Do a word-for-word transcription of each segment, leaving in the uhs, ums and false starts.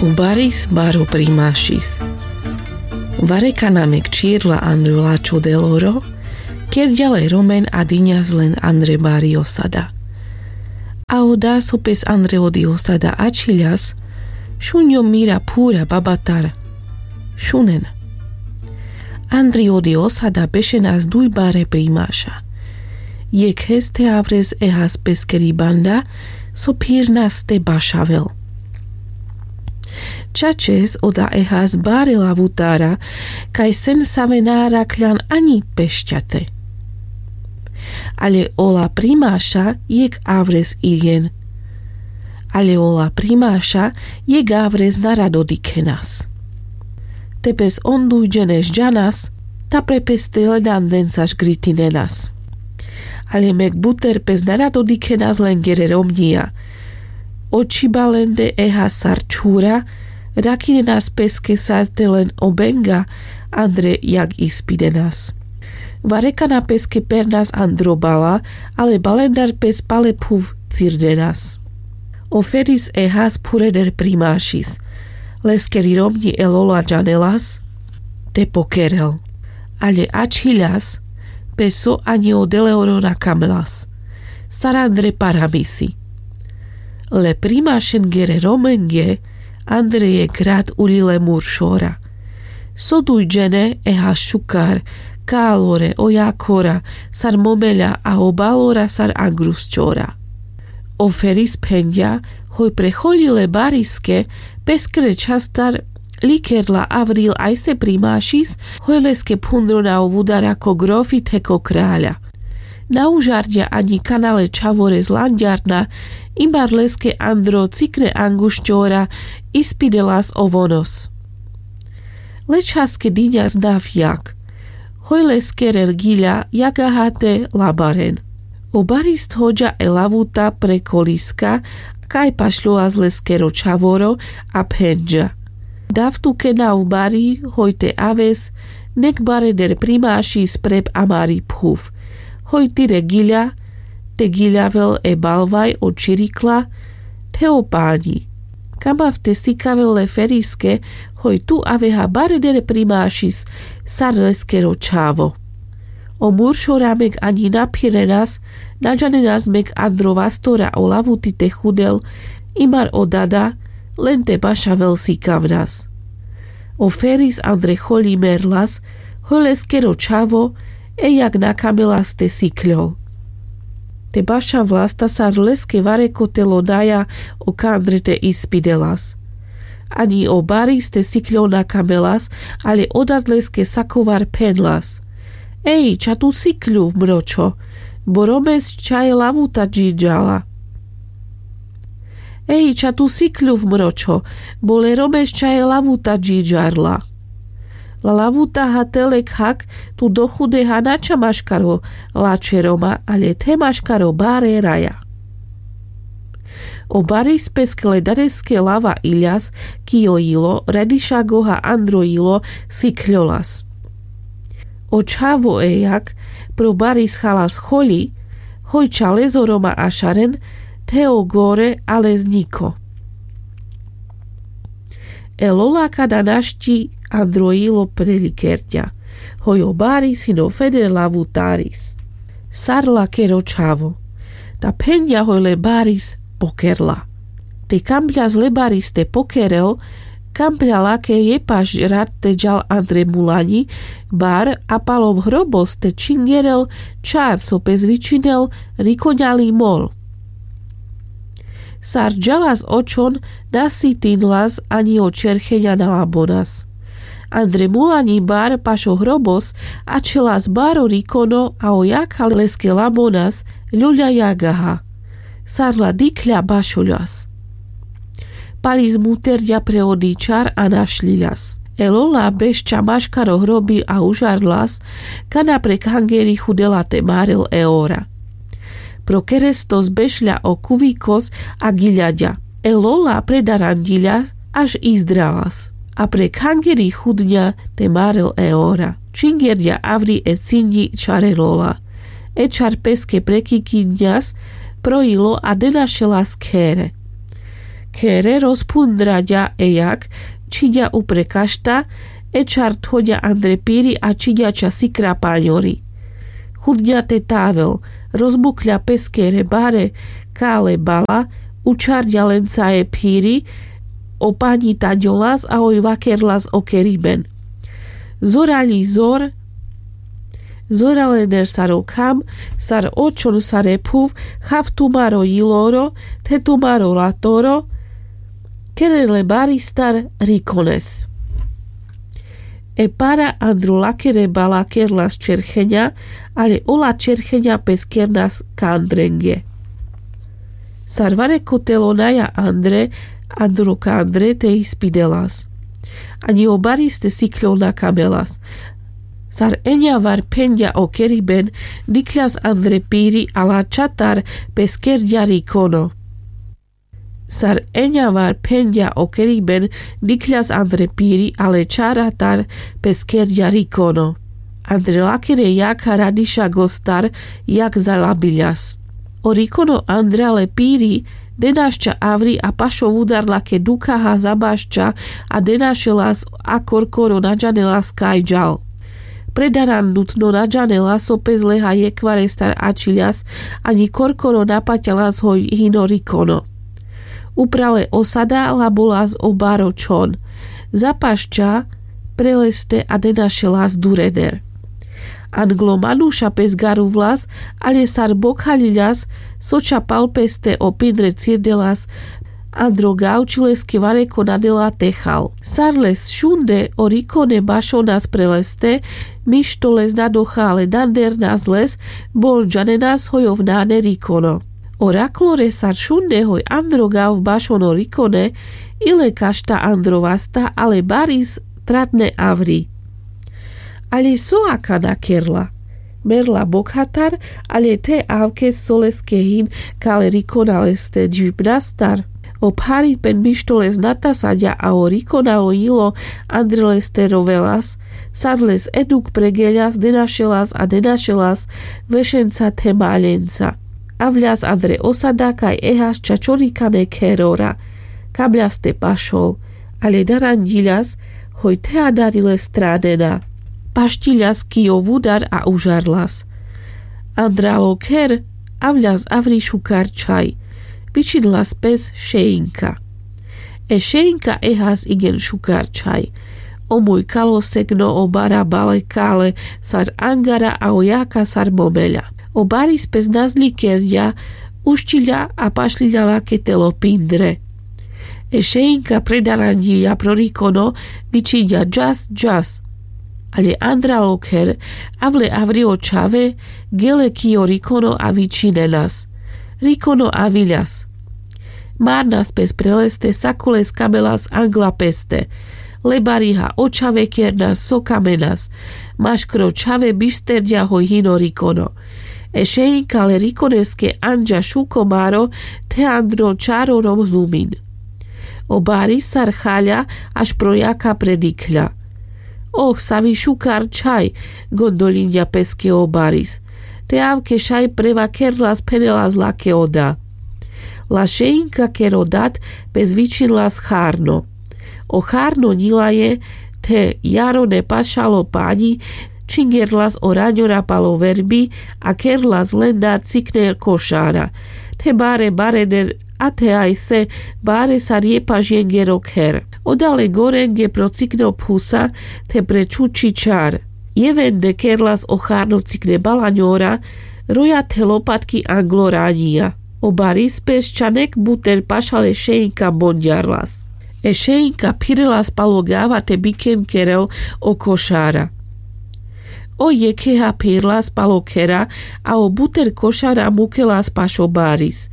O baris baro primašis. Varekana mek čirla andre lačo deloro, kerďa le romen a diňas len andre bari osada. A oda so pes andre odi osada ačhiľas, šunďo mira phura babatar šunen. Andre odi osada bešenas duj bare primaša. Jekhes te avres ehas peskeri banda so phirnas te bašavel. Čačes oda ehas bare lavutara, kaj sen save na arakľan aňi pešťate. Ale ola primaša jek avres irjen. Ale ola primaša jek avres na rado dikhenas. Te pes on dujdžene žďanas, ta pre pes te ledanden sa žgritinenas. Ale mek buter pes na rado dikhenas lengere romňija. Oči ba lende ehas sar čhura, rakinenas peske sar te len obenga andre jak ispidenas. Varekana peske pernas andro bala, ale balendar pes pale phuv cirdenas. O feris ehas phureder primašis. Leskeri romňi e lola džanelas te pokerel. Ale ačhiľas, pes so aňi o deleoro na kamelas. Sar andre paramisi. Le primašengere romenge andre jek rat uľile muršora. So dujdžene ehas šukar, kalore, o jakora sar momeľa a o balora sar angrusčora. O feris phenďa, hoj pre choľi le bariske, peskre čhastar likerla avril ajse primašis, hoj leske phundro na o vudara ko grofi the ko kraľa. Na užarďa aňi kana le čhavore zlanďarna, imbar leske andro cikne anguščora ispidelas o vonos. Le čhaske diňas nav jak. Hoj leskere giľa jagaha te labaren. O baris thoďa e lavuta pre koliska, kaj pašľolas leskero čhavoro a phenďa. Dav tuke nav bari, hoj te aves, nek bareder primašis prep amari phuv. Hoj tire giľa, te giľavel e balvaj o čirikla, the o paňi. Kamav te sikavel le feriske, hoj tu aveha bareder primašis sar leskero čhavo. O muršora mek aňi na phirenas, na džanenas mek andro vastora o lavuti te chudel, imar o dada, len te bašavel sikavnas. O feris andre choľi merlas, hoj leskero čhavo, e jak na kamelas te sikľol. Te bašavlas ta sar leske varekotelo naja o kandre te ispidelas. Aňi o baris te sikľol na kamelas, ale o dad leske sakovar phenlas. Ej, ča tu sikľuv, mročho, bo romes ča e lavuta džidžala. Ej, ča tu sikľuv, mročho, bo le romes ča e lavuta džidžarla. La lavuta ha te le khak, tu dochudeha na ča maškaro lačhe roma, ale the maškaro bare raja. O baris peske le dareske lava iľas, ki o jilo, radišagoha andro jilo, sikľolas. O čhavo e jak pro baris chalas choľi, hoj ča lezo roma ašaren, the o gore, ale zniko. E lola kada našti andro jilo prelikerďa, hoj o baris hino feder lavutaris. Sar lakero čhavo. Ta phenďa hoj le baris pokerla. Te kamďas le baris te pokerel, kamďa lake jepaš rat te džal andre mulaňi bar a palom hrobos te čingerel čar so pes vičinel rikoňali mol. Sar džalas očon, na sitinlas aňi o čercheňa na labonas. Andre mulaňi bar paš o hrobos ačhelas baro rikono a o jakha leske labonas, ľuľa jagaha. Sar la dikhľa bašoľas. Palis muterďa pre odi čar a našľiľas. E lola beš ča maškaro hrobi a užarlas, kana pre khangeri chudela te marel e ora. Pro kerestos bešľa o kuvikos a giľaďa. E lola predaranďiľa, až izdralas. A pre khangeri chudňa te marel e ora. Čingerďa avri e cinďi čare lola. E čar peske prekikiňas pro jilo a denašelas khere. Khere rozpundra ďa e jak čhiďa upre kašta, e čar thoďa andre piri a čhiďa ča sikra paňori. Chudňa te tavel, rozbukľa pes khere bare kale bala, učarďa lenca e phiri o paňi taďolas a oj vakerlas o keriben. Zorali zor, zoralener sar o kham, sar o čhon sar e phuv, chav tumaro jiloro, the tumaro latoro, keren le baristar rikones. E para andro lakere bala kerlas čercheňa, ale ola čercheňa pes kernas kandrenge. Sar vareko telo naja andre, andro kandre te ispidelas. Aňi o baris te sikľo na kamelas. Sar eňa var phenďa o keriben, dikľas andre piri a la čatar pes kerďa rikono. Sar eňa var phenďa o keriben, dikľas andre piri a le čaratar pes kerďa rikono. Andre lakere jakha radiša gostar jak zalabiľas. O rikono andre ale piri denašča avri a pašo vudar lake dukhaha zabašča a denašelas a korkoro naďanelas kaj ďal. Predarandutno naďanelas o pes leha jekvarestar ačhiľas, aňi korkoro napaťalas hoj hino rikono. Uprale osada labolas o baro čhon. Zapašča pre leste a denašelas dureder. Anglo manuša pes garuvlas, ale sar bokhaľiľas, so ča pal peste o pindre cirdelas, andro gav či leske vareko nadela te chal. Sar les šunde o rikone bašonas pre leste, mišto les nadocha ale nadernas les, bo on džanenas hoj ov nane rikono. O raklore sar šunde hoj andro gav bašon o rikone, i le kašta andro vasta, ale baris tratne avri. Ale so akana kerla? Merla bokhatar, ale the avke so leske hin kale rikona leste džvipnastar. O pharipen mišto les natasaďa a o rikona o jilo andre leste rovelas, sar les eduk pregeľas denašelas a denašelas vešenca the maľenca. Avľas andre osada kaj ehas ča čorikane kherora. Kabľas te pašol, ale daranďiľas, hoj the adari les stranena. Pašťiľas ki o vudar a užarlas. Andral o kher, avľas avri šukar čhaj. Vičinlas pes Šeinka. E Šeinka ehas igen šukar čhaj. O muj kalo segno o bara bale kale sar angara a o jaka sar momeľa. O baris pes nazli kerďa, ušťiľa a pašľiľa lake telo pindre. E Šeinka predaranďiľa pro rikono, vičinďa džas, džas. Ale andral o kher, avle avri o čhave, gele ki o rikono a vičinenas. Rikono aviľas. Marnas pes pre leste, sako les kamelas angla peste. Le bariha o čhave kernas so kamenas. Maškro čhave bišterďa hoj hino rikono. E Šeinka le rikoneske anďa šuko baro, the andro čaro rozumin. O baris sar chaľa, aš pro jaka predikľa. Oh, savi šukar čhaj, gondoľinďa peske o baris. Te avke šaj prevakerlas, phenelas lake o da. La Šeinka ker o dat pes vičinlas charno. O charno ňilaje, the jarone pašalo paňi, čhingerlas o raňora pal o verbi a kerlas len da cikne košara. The bare barener a the ajse bare sar jepaš jenger o kher. Oda le gorenge pro cikne o phusa, the pre čuči čar. Jevende kerlas o charno cikne balaňora, roja the lopatki anglo raňija. O baris pes ča nek buter pašal e Šeinka bonďarlas. E Šeinka phirelas pal o gava te biken kerel o košara. O jekheha phirlas pal o khera, a o buter košara mukelas paš o baris.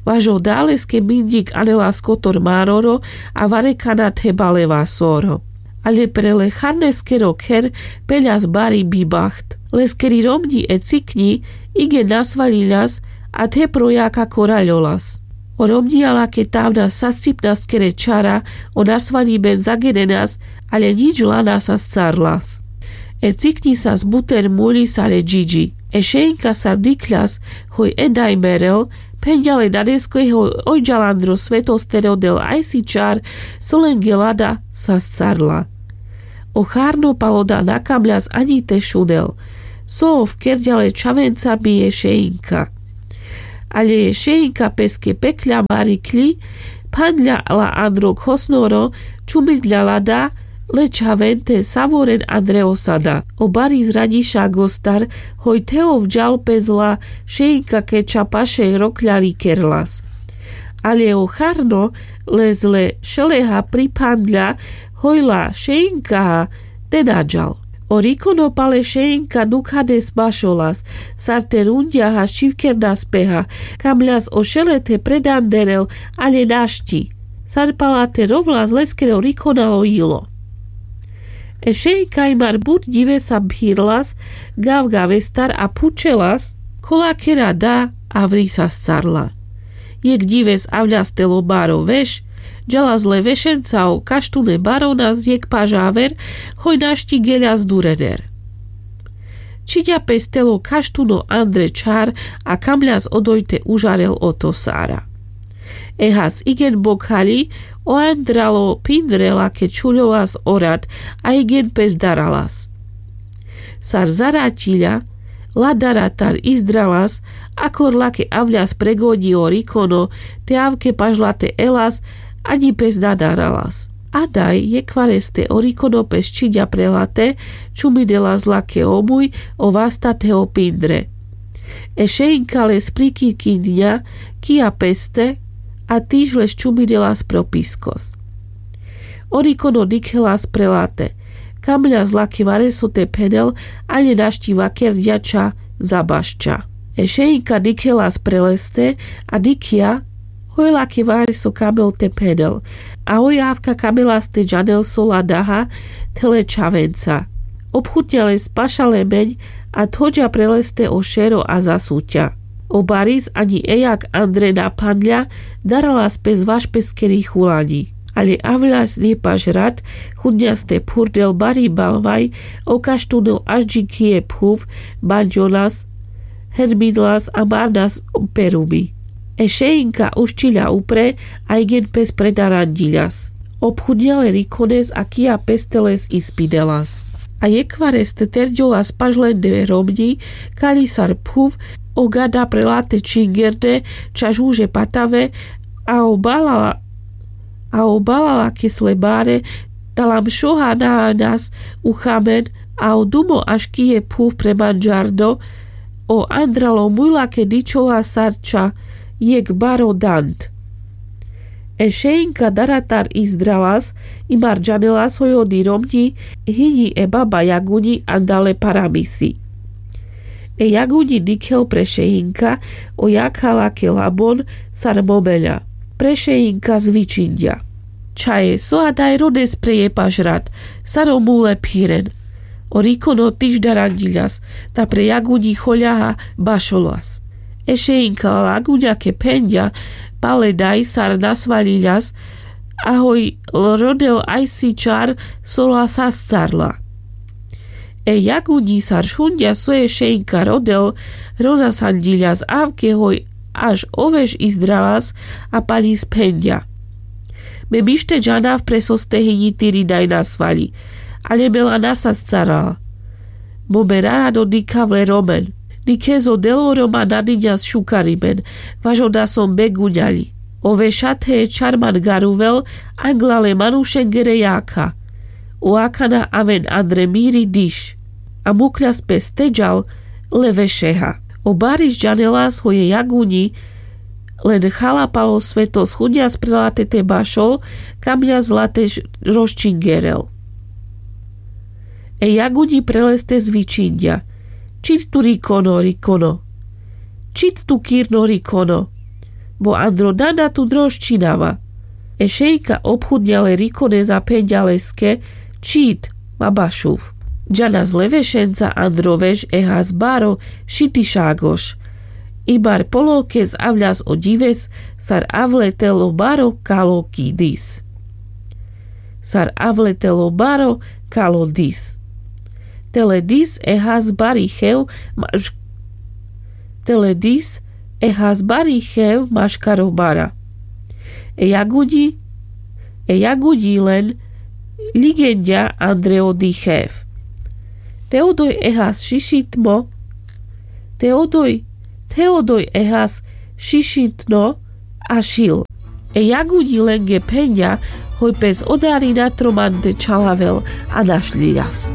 Vaš o da leske minďik anelas kotor maroro, a varekana the bale vasoro. Ale pre le charneskero kher peľas bari bibaht. Leskeri romňi e cikňi igen nasvaľiľas, a the pro jaka koraľolas. O romňija lake tavna sascipnaskere čara o nasvaľiben zagenenas, ale ňič lana sascarlas. E cikňi sas buter muľi sar e džidži. E Šeinka sar dikľas hoj e daj merel, Phenďa le danesko hoj ojďal andro svetos te rodel ajsi čar, so lenge lada sascarla. O charno pal oda na kamľas aňi te šunel, so ov kerďa le čhavenca bi e šeinka. Ale e šeinka peske pekľa marikľi, phanďa la andro khosnoro, čumidľa lada le čhaven te savoren andre osada. O bari zraňiša gostar hoj the ovďal pes la šeinka ke ča paše rokľa likerlas. Ale o charno le zle šeleha priphandľa hoj la šeinkaha te naďal. O rikono pal e šeinka dukhades bašolas, sar te runďaha šivkernas peha, kamľas o šele the predanderel, ale našti. Sar pala te rovlas leskero rikonal o jilo. E šeinka imar but ďivesa phirlas gav gavestar a phučelas, kola kera da avri sascarla. Jekh ďives avľas tel o baro veš, ďalas le vešenca o kaštune baronas jekh pažaver, hoj našti geľas durener. Čiďa pes tel o kaštuno andre čhar a kamľas odoj te užarel oto sara. Ehas igen bokhaľi o andralo pindre lake čhuľolas o rad, a igen pes daralas. Sar zaraťiľa, la daratar izdralas, akor lake avľas pregoďi o rikono, te avke pažlate elas, aňi pes na daralas. A daj jekhvareste o rikono pes čiďa prelate, čumidelas lake omuj o vasta te o pindre. E šeinka les prikikinďa kija peste, a tiž les čumidelas pro piskos. O rikono dikhelas prelate, kamľas lake vareso te phenel, ale našti vakerďa ča zabašča. E šeinka dikhelas preleste, a dikhľa hoj lake vareso kamel te phenel, a hoj avka kamelas te džanel so la daha the le čhavenca. Obchutňa les paša lemeň, a thoďa preleste o šero a zasuťa. O baris aňi ejak andre na phanďa, daralas pes vaš peskeri chulaňi. Ale avľas nepaš rad, chudňas te phurdel bari balvaj, o kaštuno ažďi kije phuv, banďolas, herminlas a marnas perumi. E šeinka uščiľa upre, a igen pes predaranďiľas. Obchudňa le rikones a kija peste les ispidelas. A jekhvareste terďolas paš lende romňi, kaľi sar phuv o gada prelate čingerde ča žuže patave, a o balala a o balala kes le bare, talam šoha na aňas uchamen, a o dumo aš kije phuv pre manďardo, o andralo muľa ke dičola sar ča jekh baro dand. E šeinka daratar izdralas, imar džanelas hoj odi romňi hiňi e baba jaguňi andale paramisi. E jaguňi dikhel pre šeinka, o jakha lake labon sar momeľa. Pre šeinka zvičinďa: Čhaje, so adaj rodes pre jepaš rad, sar o mule phiren. O rikono tiž daranďiľas, ta pre jaguňi choľaha bašolas. E šeinka la jaguňa ke phenďa, pal e daj sar nasvaľiľas, a hoj rodel ajsi čar so la sascarla. E jaguňi sar šunďa so e šeinka rodel, rozasanďiľas avke hoj, až o veš izdralas, a paľi sphenďa: Me mište džanav pre so ste hiňi tiri daj nasvaľi, ale me la nasascarala. Bo me rarado dikhav le romen. Nikhes o del o roma nadiňas šukarimen, vaš oda som beguňaľi. O vešate e čar man garuvel, angla le manušengere jakha. O akana aven andre miri diš. A mukľas pes teďal le vešeha. O baris džanelas hoj e jaguňi len chala pal o svetos chudňas prelate te bašol, kamňas late rozčingerel. E jaguňi preleste zvičinďa: Čit tu rikono, rikono. Čit tu kirno, rikono. Bo andro danda tu rozčinava. E šejka obchudňa le rikones a phenďa leske: Čit, ma bašuv. Džanas le vešenca andro veš e has baro šitišagoš. Ibar polokes avľas o ďives sar avletel o baro kalo ki dis. Sar avletel o baro kalo dis. Tele dis e has bari chev maš-, tele dis E has bari chev maškaro bara. E jagudži e jagudži len ligenďa andre odi chev. Te odoj e has šišitmo te odoj te odoj e has šišitno a šil. E jagudži lenge phenďa hoj pes odarina tromante čhalavel a našľiľas.